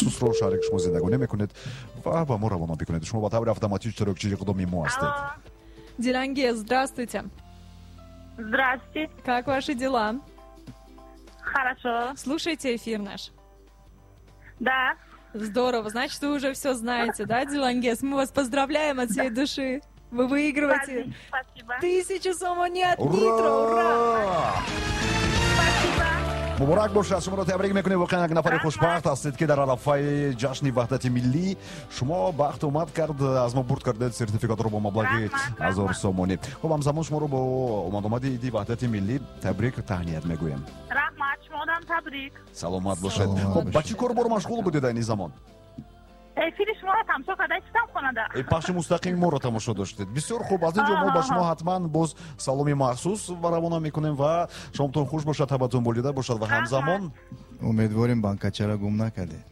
Махсусро шарик шумо зиндагонӣ мекунед ва ба мо равона бикунед. Шумо ба таври автоматӣ иштирокчии иқдоми мо ҳастед. Дилангез, здравствуйте. Здравствуйте. Как ваши дела? Хорошо. Слушайте эфир наш. Да. Здорово. Значит, вы уже все знаете, да, Дилангез? Мы вас поздравляем от всей души. Вы выигрываете Спасибо. 1000 сомони от Нитро. Ура! Спасибо. Муборак бошад, шуморо табрик мекунем. Воқеан як нафари хушбахт ҳастед, ки дар арафаи ҷашни ваҳдати миллӣ шумо бахт омад кард, аз мо бурд кардед сертификатро бо маблағи Раҳмат, 1000 раҳмат. сомонӣ. Хуб, ҳамзамон шуморо бо омадомади иди ваҳдати миллӣ табрик таҳният мегӯем. Раҳмат, шумодам табрик. Саломат бошед. Саломат Хуб, ба бошед. чӣ кор бор машғул будед айни замон? Эфири шуморо тамошо карда истам хонада. Пахши мустақими моро тамошо доштед. Бисёр хуб. Аз ин ҷо мо ба шумо ҳатман боз саломи махсус ва равона мекунем ва шомтон хуш бошад, табатон болида бошад ва ҳамзамон Умедворем, банкачаро гум накардед.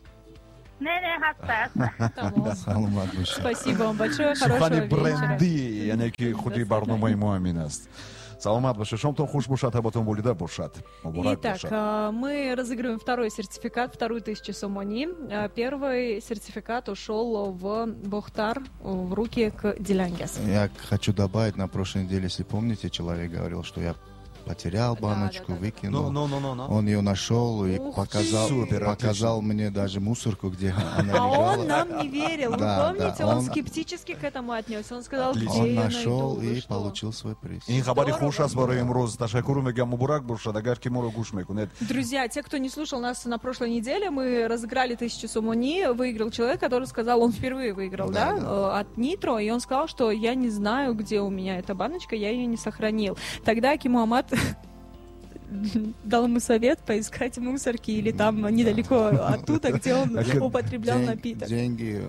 Не, не, ҳаста, ҳаста. Тамом. Саломат бошед. Спасибо вам большое. Сухани Хорошего вечера. брендӣ, яъне ки худи барномаи мо ҳамин аст. Саломат бошед, шомтон хуш бошад, табатон болида бошад. Муборак Итак, бошад. Мы разыгрываем второй сертификат, вторую 1000 сомони. Первый сертификат ушел в Бохтар, в руки к Дилангез. Я хочу добавить, на прошлой неделе, если помните, человек говорил, что я потерял баночку, выкинул. Ну, ну, ну, ну. Он ее нашел и Ух показал, ты! Супер, показал мне даже мусорку, где она А лежала. он нам не верил. Вы Да, помните, да, он скептически к этому отнесся. Он сказал, Отлично. где Он я нашел найду, вы и что? получил свой приз. Ин хабари Здорово. хуш аст барои имрӯз. Ташаккур мегӯям, муборак бошад, агар ки моро гӯш мекунед. Друзья, те, кто не слушал нас на прошлой неделе, мы разыграли 1000 сомони. Выиграл человек, который сказал, он впервые выиграл, да, Да, да. от Нитро, и он сказал, что я не знаю, где у меня эта баночка, я ее не сохранил. Тогда Аким Муаммад дал ему совет поискать мусорки или там недалеко оттуда, где он употреблял напиток. Деньги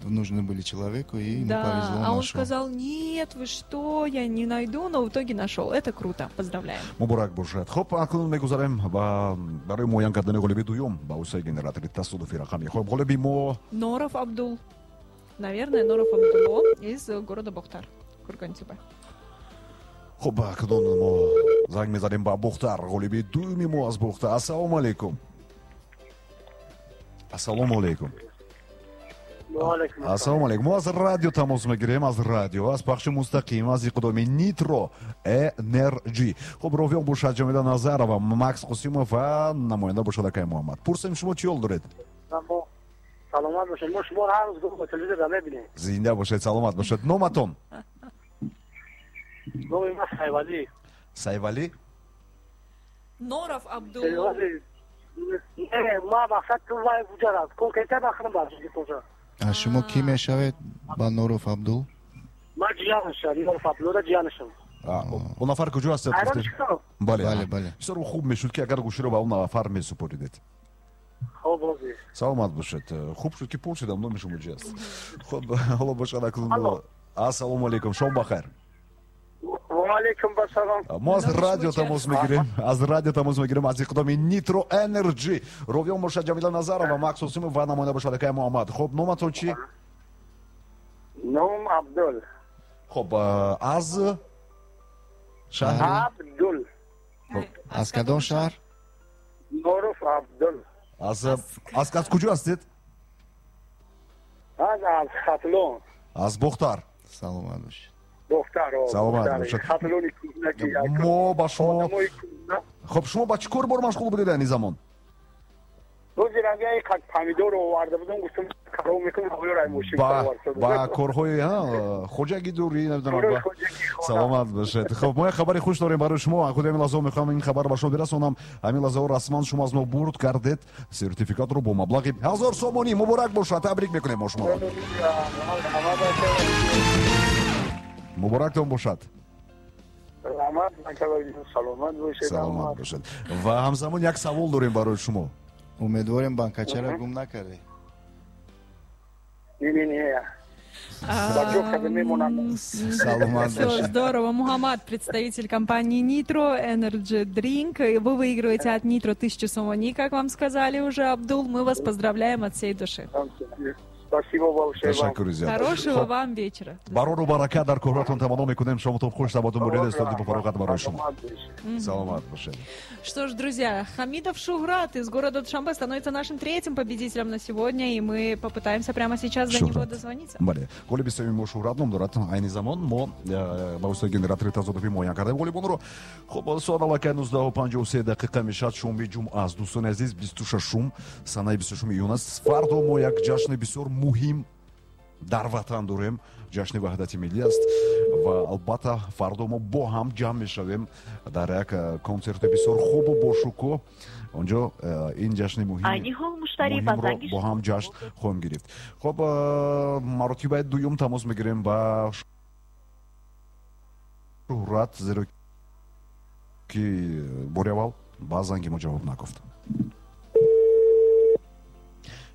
нужны были человеку, и ему Да, повезло, а он нашел. сказал: нет, вы что, я не найду, но в итоге нашел. Это круто, поздравляем. Муборак бошад. Хуб, акнун мегузарем ба барои муайян кардани ғолиби дуюм ба воситаи генератори тасодуфи рақами. Хуб, ғолиби мо Норов Абдул. Наверное, Норов Абдулло из города Бохтар, Кургантюбе. Хуб, акнун мо занг мезанем ба Бухтар. Ғолиби дуюми мо аз Бухтар. Ассалому алайкум, ассалому алайкум. Ассалому алайкум. Мо аз радио тамос мегирем, аз радио, аз пахши мустақим, аз иқдоми Нитро Энерҷи. Хуб, ровиён бошад Ҷамила Назарова, Макс Қосимов ва намоянда бошад акай Муҳаммад. Пурсем, шумо чӣ ҳол доред? Саломат бошед. Мо шуморо ҳар рӯз бо телевизор мебинем. Зинда бошед, саломат бошед. Номатон? Номи ман Сайвалӣ. Сайвалӣ. Норов Абдулло. Не, ма мақсад ту вай буҷарад конкрета бахрам барши. А шумо кӣ мешавед ба Норов Абдул? Ман ҷиянашам, Норов Абдуллора ҷиянашам. Он нафар куҷо ҳастед? Айрон чикор? Бале. Бале, бале. Бисёр хуб мешуд, ки агар гӯширо ба он нафар месупоридед. Хоб, розӣ. Саломат бошед. Хуб шуд, ки пурсидам, номи шумо чи аст. Хуб, ҳоло бошад, акнун Алло. Ассалому алайкум, шом бахайр. Ваалайкум ассалом. Мо аз Номи шумо радио чи тамос аст? мегирем, аз радио тамос мегирем, аз иқдоми Нитро Энерҷи. Ровиён бошад Ҷамила Назарова, Макс Осимов ва намоянда бошад акай Муҳаммад. Хуб, номатон чӣ? Ном Абдул. Хуб, аз шаҳри Абдул. Аз кадом шаҳр? Норов Абдул. Аз куҷо ҳастед? Аз Хатлон. Аз Бохтар. Саломат бошед. Бохтар. Саломат бошед. Хатлони кӯҳнаки. Мо ба шумо Одамои кӯҳна. Хуб, шумо ба чӣ кор бор машғул будед айни замон? Рӯзи рангаи қад помидор оварда будам, гуфтам, қарор мекунам, ҳавло мошин. Ба корҳои хоҷагидорӣ, намедонам. Корҳои хоҷагӣ, хона. Саломат бошед. Хуб, мо як хабари хуш дорем барои шумо. Худи ҳамин лаҳзаҳо мехоҳам ин хабар ба шумо бирасонам. Ҳамин лаҳзаҳо расман шумо аз мо бурд кардед сертификатро бо маблағи 1000 сомонӣ. Муборак бошад, табрик мекунем мо шуморо. Муборактон бошад. Раҳмат, саломат бошед. Саломат бошад. Ва ҳамзамон як савол дорем барои шумо. Умедворем, банкачаро гум накардед. Не, не, не. Ба ҷо карда мемонам. Саломат Все, бошед. здорово. Мухаммад, представитель компании Nitro Energy Drink. И вы выигрываете от Nitro 1000 сомони, как вам сказали уже, Абдул. Мы вас поздравляем от всей души. Спасибо большое вам. Ташаккури зиёд. Хорошего Хоб, вам вечера. Барору баракат дар корҳоятон таманно мекунем. Шомотон хуш, табатон бурида, истоди бофароғат барои шумо. Саломат бошед. Саломат бошед. Что ж, друзья, Хамидов Шуграт из города Душанбе становится нашим третьим победителем на сегодня, и мы попытаемся прямо сейчас до него Шуҳрат. Дозвониться. Бале, ғолиби сеюми мо Шӯҳрат ном дорад. Айни замон мо ба воситаи генератори тазодуфӣ муайян кардем ғолибонро. Хуб, соат аллакай 19:53 дақиқа мешавад, шоми ҷумъа аст, дӯстони азиз, 26-ум, санаи 26 июн аст. Фардо мо як ҷашни бисёр муҳим дар ватан дорем, ҷашни Ваҳдати миллӣ аст, ва албатта фардо мо бо ҳам ҷамъ мешавем дар як консерти бисёр хубу бошукӯҳ. Онҷо ин ҷашни муҳим Айни ҳол муштарӣ ба муҳимро занги бо ҳам ҷашн хоҳем гирифт. Хуб, маротибаи дуюм тамос мегирем ба Шӯҳрат, зеро ки бори аввал ба занги мо ҷавоб нагуфт.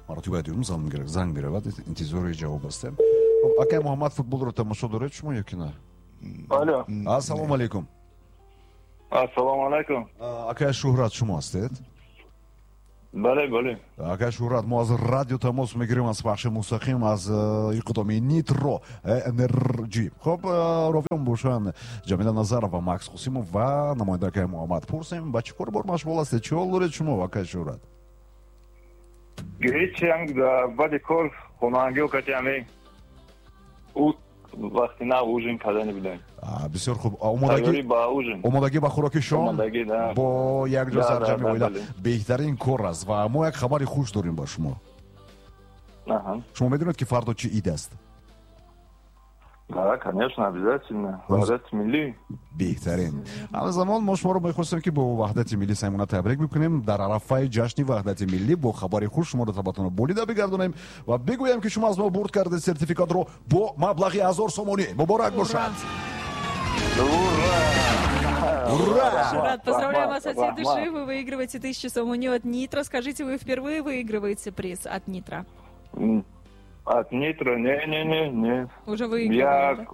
Маротибаи дуюм занг меравад, интизори ҷавоб ҳастем. Хуб, акай Муҳаммад, футболро тамошо доред шумо ё ки на? Алло. Ассалому алайкум. Ассалому алайкум. Акай Шӯҳрат шумо ҳастед? Бале, бале. Акай Шӯҳрат, мо аз радио тамос мегирем, аз пахши мустақим аз иқдоми Нитро Энерҷи. Хуб, ровиён бошанд Ҷамила Назарова, Макс Қосимов ва намоянда акай Муҳаммад. Пурсем, ба чӣ кор бор машғул ҳастед, чӣ ҳол доред шумо, акай Шӯҳрат? Ҳечи, ҳам баъди кор хонаангиҳо кати ҳаме вақти нав ужин кардани будем. Бисёр хуб. Тайёрӣ ба ужин. Омодагӣ ба хӯроки шом. Омодагӣ, да. Бо якҷо Да, да, сарҷамъи да, оила бале. Беҳтарин кор аст, ва мо як хабари хуш дорем ба шумо. Шумо медонед, ки фардо чӣ ид аст? Да, конечно, обязательно. Ваҳдати миллӣ. Беҳтарин. Ҳамзамон мо шуморо мехостем, ки бо Ваҳдати миллӣ самимона табрик бикунем. Дар арафаи ҷашни Ваҳдати миллӣ бо хабари хуш шуморо табатонро болида бигардонем ва бигӯем, ки шумо аз мо бурд кардед сертификатро бо маблағи 1000 сомонӣ. Муборак бошад! Ура! Ура! Шурат, поздравляем вас от всей Рахмат. Души. Вы выигрываете 1000 сомони от Нитро. Скажите, вы впервые выигрываете приз от Нитро? От Нитро? Не-не-не, не. Уже выигрывали, Я да?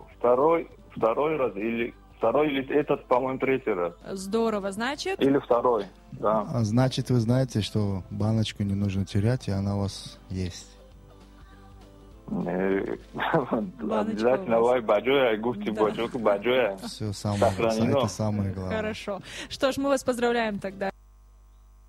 второй раз или второй или этот, по-моему, третий раз. Здорово, значит? Или второй, да. А значит, вы знаете, что баночку не нужно терять, и она у вас есть. Не, Баночка обязательно у вас. вай баҷоя, гуфти Да. баҷо ки баҷоя. Все самое, Сохранено. это самое главное. Хорошо. Что ж, мы вас поздравляем тогда.